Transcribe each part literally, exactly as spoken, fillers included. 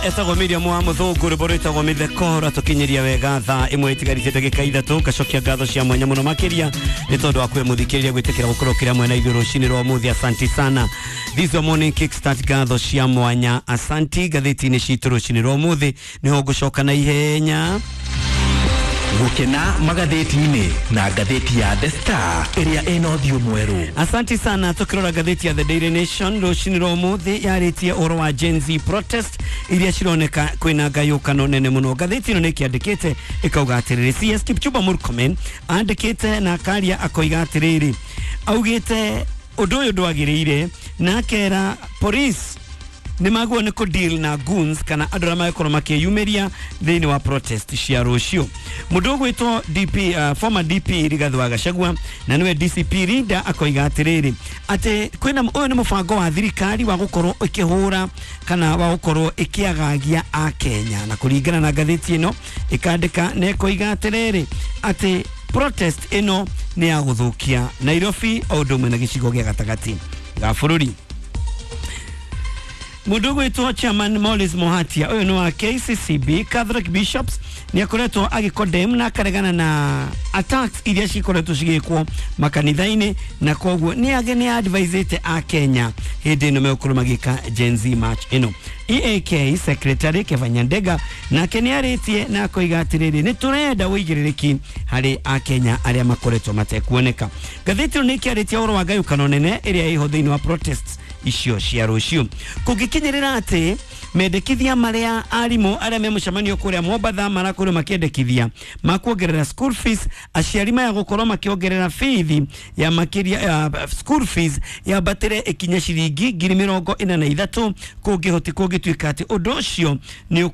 Etagwo Miriam wa Muthungu, rwĩmbo rwĩtagwo Mĩtheko, rwatũkinyĩria wega thaa ĩmwe ĩtigarĩtie ndagĩka ithatũ. Ngacokia ngatho cia mwanya mũno makĩria nĩ tondũ wa kwĩ mũthikĩrĩria gwĩtĩkĩra gũkorwo kĩrĩa mwena ithuĩ rũcinĩ rwa ũmũthĩ. Asanti sana. This is your morning kickstart. Ngatho cia mwanya, asanti. Ngathĩti-inĩ citũ rũcinĩ rwa ũmũthĩ nĩho ngũcoka na ihenya. Gukena magathĩti-inĩ na ngathĩti ya The Star ĩrĩa ĩna ũthiũ mwerũ. Asanti sana. Tukirora ngathĩti ya The Daily Nation rũcinĩ rwa ũmũthĩ, yarĩtie ũhoro wa Gen Z protest iria cironeka kwĩna ngayũkano nene mũno. Ngathĩti ĩno nĩ ĩkĩandĩkĩte ĩkauga atĩrĩrĩ, C S Kipchumba Murkomen andĩkĩte na akaria akoiga atĩrĩrĩ, augĩte ũndũ ũyũ ndwagĩrĩire na akera police nĩ magwo nĩ kũ deal na goons kana andũ arĩa magĩkorwo makĩyumĩria thĩinĩ wa protest cia rũciũ. Mũndũ ũgwĩtwo D P, uh, former D P Rigathi wa Gachagua na nĩwe D C P leader, akoiga atĩrĩrĩ atĩ kwĩna ũyũ nĩ mũbango wa thirikari wa gũkorwo ĩkĩhũra kana wa gũkorwo ĩkĩagagia akenya. Na kũringana na ngathĩti ĩno ĩkandĩka na ĩkoiga atĩrĩrĩ atĩ protest ĩno nĩ ya gũthũkia Nairobi o ũndũ ũmwe na gĩcigo gĩa gatagatĩ ga bũrũri. Mũndũ ũgwĩtwo chairman Morris Mohatia, ũyũ nĩ wa K C C B, Catholic Bishops, nĩ akoretwo agĩcondemn na akaregana na attacks iria cikoretwo cigĩkwo makanitha-inĩ, na koguo nĩ age nĩ advisĩte a Kenya hĩndĩ ĩno megũkorwo magĩka Gen Z march ĩno. E A K secretary Keva Nyandega nake nĩ arĩtie na akoiga atĩrĩrĩ, nĩ tũrenda ũigĩrĩrĩki harĩ akenya arĩa makoretwo matekuoneka. Ngathĩti ĩno nĩ ĩkĩarĩtie ũhoro wa ngayũkano nene ĩrĩa ĩho thĩinĩ wa protests icio cia rũciũ, kũngĩkinyĩrĩra atĩ mendekithia marĩa arimũ arĩa me mũcemanio kũrĩa Mombatha marakorirwo makĩendekithia ma kuongerera school fees, aciari maya gũkorwo makĩongerera bithi ya makĩria ya school fees yambatĩre ĩkinye ciringi ngiri mĩrongo ĩna na ithatũ, kũngĩhoti kũngĩtuĩka atĩ ũndũ ũcio nĩ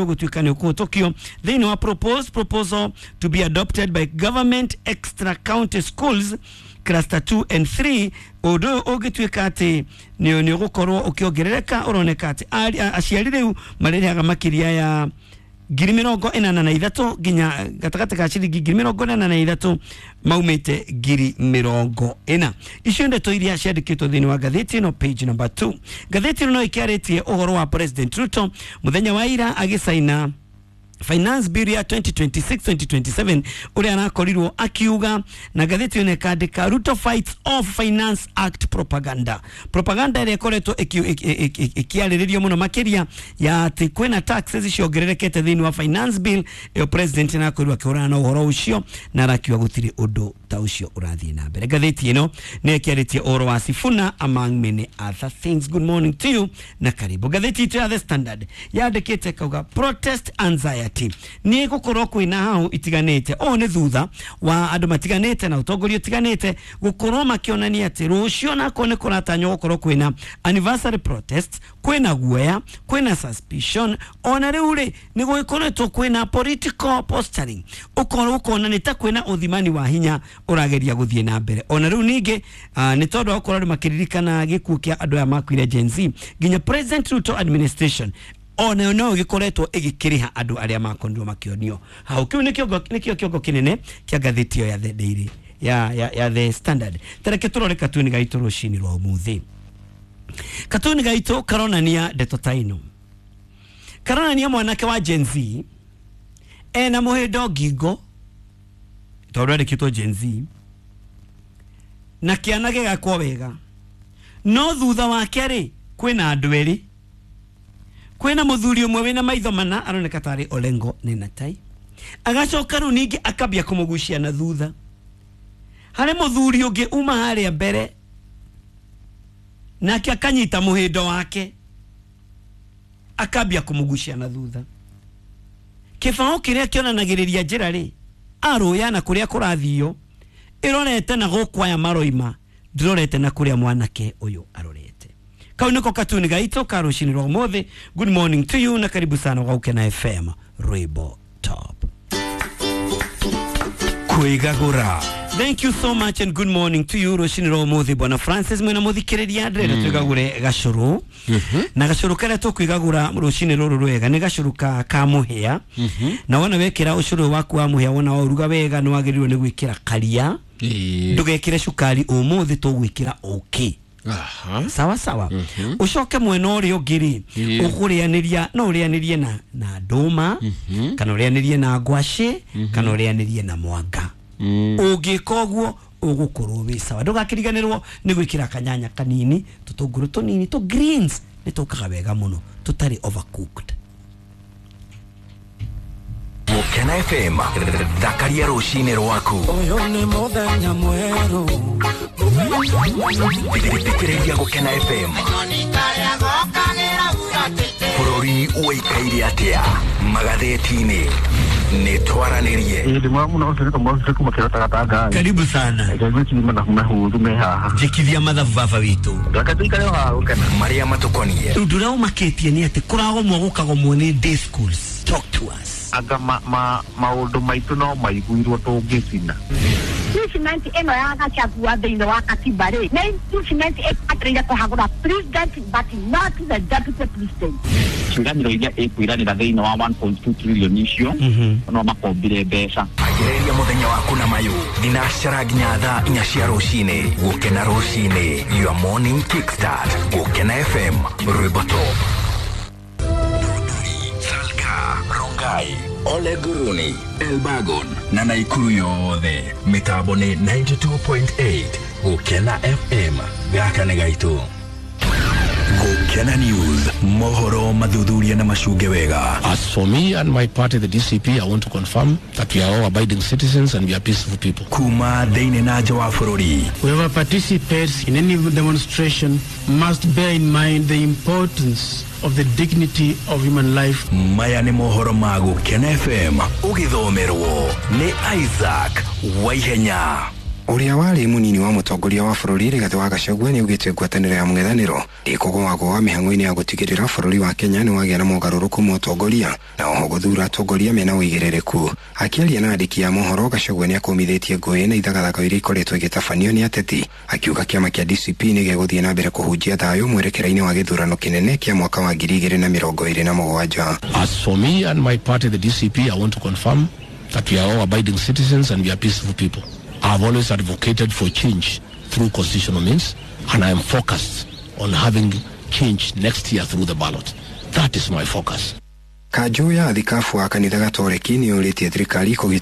ũgũtuĩka nĩ ũkũhĩtũkio thĩinĩ wa proposed proposal to be adopted by government, extra county schools cluster two and three. Ũndũ ũyũ ũngĩtuĩka atĩ nĩ nĩ ũgũkorwo ũkĩongerereka, ũroneka atĩ ari- a- aciari rĩu marĩrĩhaga makĩria ya ngiri mĩrongo ĩnana na ithatũ nginya gatagatĩ ka ciringi ngiri mĩrongo ĩnana na ithatũ maumĩte ngiri mĩrongo ĩna. Icio ndeto iria ciandĩkĩtwo thĩinĩ wa ngathĩti ĩno, page number two. Ngathĩti ĩno no ĩkĩarĩtie ũhoro wa President Ruto mũthenya wa ira agĩcaina finance bill ya twenty twenty-six twenty twenty-seven, ũrĩa arakorirwo akiuga, na ngathĩti ĩno ĩkandĩka, "Ruto fights off Finance Act propaganda." Propaganda ĩrĩa ĩkoretwo ĩki- ĩki- ĩki- ĩkĩarĩrĩrio mũno makĩria ya atĩ kwĩna taxes ciongererekete thĩinĩ wa finance bill ĩyo, president nĩakorirwo akĩhũrana na ũhoro ũcio na arakiuga gũtirĩ ũndũ ta ũcio ũrathiĩ na mbere. Ngathĩti ĩno nĩ ĩkĩarĩtie ũhoro wa Sifuna among many other things. Good morning to you na karibu. Ngathĩti itũ ya The Standard yandĩkĩte kauga, "Protest anxiety." Nĩ gũkorwo kwĩna hau itiganĩte, ũũ nĩ thutha wa andũ matiganĩte na ũtongoria ũtiganĩte gũkorwo makĩonania atĩ rũciũ nako nĩ kũratanywo gũkorwo kwĩna anniversary protest, kwĩna guoya, kwĩna suspicion. Ona rĩu rĩ nĩ gũgĩkoretwo kwĩna political posturing, ũkorwo ũkona nĩ ta kwĩna ũthimani wa hinya ũrageria gũthiĩ na mbere. Ona rĩu ningĩ ah, nĩ tondũ wa gũkorwo andũ makĩririkana gĩkuũ kĩa andũ aya makuire Gen Z, nginya President Ruto administration onayo no ĩgĩkoretwo ĩgĩkĩrĩha andũ arĩa makorirwo makĩonio hau. Kĩu nĩkĩo nĩkĩo kĩongo kĩnene kĩa ngathĩti ĩyo ya The Daily ya, ya, ya The Standard. Tareke tũrore katuni gaitũ rũcinĩ rwa ũmũthĩ. Katuni gaitũ karonania ndeto ta ĩno, karonania mwanake wa Gen Z ena mũhĩndo ngingo tondũ andĩkĩtwo Gen Z na kĩana gĩgakwo wega, no thutha wake rĩ kwĩna andũ erĩ. Kwĩna mũthuri ũmwe wĩna maitho mana aroneka tarĩ Olengo Nenatai, agacoka rĩu ningĩ akambia kũmũgucia na thutha. Harĩ mũthuri ũngĩ uma harĩa mbere nake akanyita mũhĩndo wake akambia kũmũgucia na thutha. Kĩbaũ kĩrĩa kĩonanagĩrĩria njĩra rĩ arũya na kũrĩa kũrathio ĩrorete na gũkũ aya maroima, ndĩrorete na kũrĩa mwanake ũyũ arorete. Kau nĩko katuni gaitũ ka rũcinĩ rwa ũmũthĩ. Good morning to you na karibu sana gwa Gukena F M, rwĩmbo top. Kwĩgagũra. Thank you so much and good morning to you rũcinĩ rwa ũmũthĩ. Bwana Francis mwena mũthikĩrĩria, ndĩrenda twĩgagũre gacũrũ, na gacũrũ karĩa tũkwĩgagũra rũcinĩ rũrũ rwega nĩ gacũrũ ka ka mũhĩa. Na wona wekĩra ũcũrũ waku wa mũhĩa, wona waũruga wega, nĩ wagĩrĩirwo nĩ gwĩkĩra karia. Ĩĩ. Ndũgekĩre cukari ũmũthĩ, tũgwĩkĩra ũkĩ. Aha. Sawa sawa. Ucoke mwena ũrĩa ũngĩ rĩ, Ĩĩ. ũkũrĩanĩria no ũrĩanĩrie na na ndũma, kana ũrĩanĩrie na ngwacĩ, kana ũrĩanĩrie na mwanga. Ũngĩka ũguo ũgũkorwo wĩ sawa. Ndũgakĩriganĩrwo nĩ gwĩkĩra kanyanya kanini, tũtũngũrũ tũnini, tũ greens nĩ tũkaga wega mũno tũtarĩ overcooked. Gũkena F M, thakaria rũcinĩ rwaku. Ũyũ nĩ mũthenya mwerũ. Thikĩrĩria Gũkena F M. Bũrũri ũikaire atĩa magathĩti-inĩ? Nĩ twaranĩrie. Ĩĩ, ndĩ mwega mũno. Ũcio nĩ Kamau kuma Kĩrota Gatanga. Karibu sana. Ngwĩciria mathabu mahũthũ me haha. Njĩkithia mathabu, baba witũ. Reke tũikare o haha gũkena. Marĩa matũkonie. Ũndũ ũrĩa ũmakĩtie nĩ atĩ kũragomwo gũkagomwo nĩ day schools. Talk to us. Anga ma, ma, maũndũ maitũ no maiguirwo tũngĩcina. Impeachment ĩno ya Gachagua thĩinĩ wa katiba rĩ, nĩ impeachment ĩbataire kũhagũra president but not the deputy president. Ciĩranĩro iria ĩkwĩranĩra thĩinĩ wa one point two trillion icio no makombire mbeca. Agĩrĩria mũthenya waku na mayũ thinacara nginya thaa inya cia rũcinĩ. Gũkena rũcinĩ, your morning kickstart. Gũkena F M, rwĩmbo top. Salga, Rongai, Ole Guruni, Elbagon na Naikuru yothe, mĩtambo nĩ ninety-two point eight Gũkena F M. Gaka nĩ gaitũ. Gũkena News, mohoro mathuthuria na macunge wega. As for me and my party, the D C P, I want to confirm that we are all abiding citizens and we are peaceful people. Kuma thĩinĩ na nja wa bũrũri. Whoever participates in any demonstration must bear in mind the importance of the dignity of human life. Maya nĩ mohoro ma Gũkena F M, ũgĩthomerwo nĩ Isaac Waihenya. Ũrĩa warĩ mũnini wa mũtongoria wa bũrũri Rigathĩ wa Gachagua nĩ augĩte ngwatanĩro ya mũng'ethanĩro ndĩkũgũagũa mĩhang'o-inĩ ya gũtigĩrĩra bũrũri wa Kenya nĩ wagĩa na mogarũrũku ma ũtongoria na oho gũthura atongoria mena ũigĩrĩrĩku. Akĩaria na andĩki a mohoro, Gachagua nĩ akũmithĩtie ngũĩ na ithagathago iria ikoretwo igĩtabanio nĩ ateti, akiuga kĩama kĩa D C P nĩ gĩgũthiĩ na mbere kũhunjia thayũ mwerekera-inĩ wa gĩthurano kĩnene kĩa mwaka wa ngiri igĩrĩ na mĩrongo ĩrĩ na mũgwanja. As for me and my party, the D C P, I want to confirm that we are all abiding citizens and we are peaceful people. I've always advocated for change through constitutional means, and I am focused on having change next year through the ballot. That is my focus. Kanjũ ya thikabu wa kanitha Gatoreki nĩ ũrĩtie thirikari kũgitĩra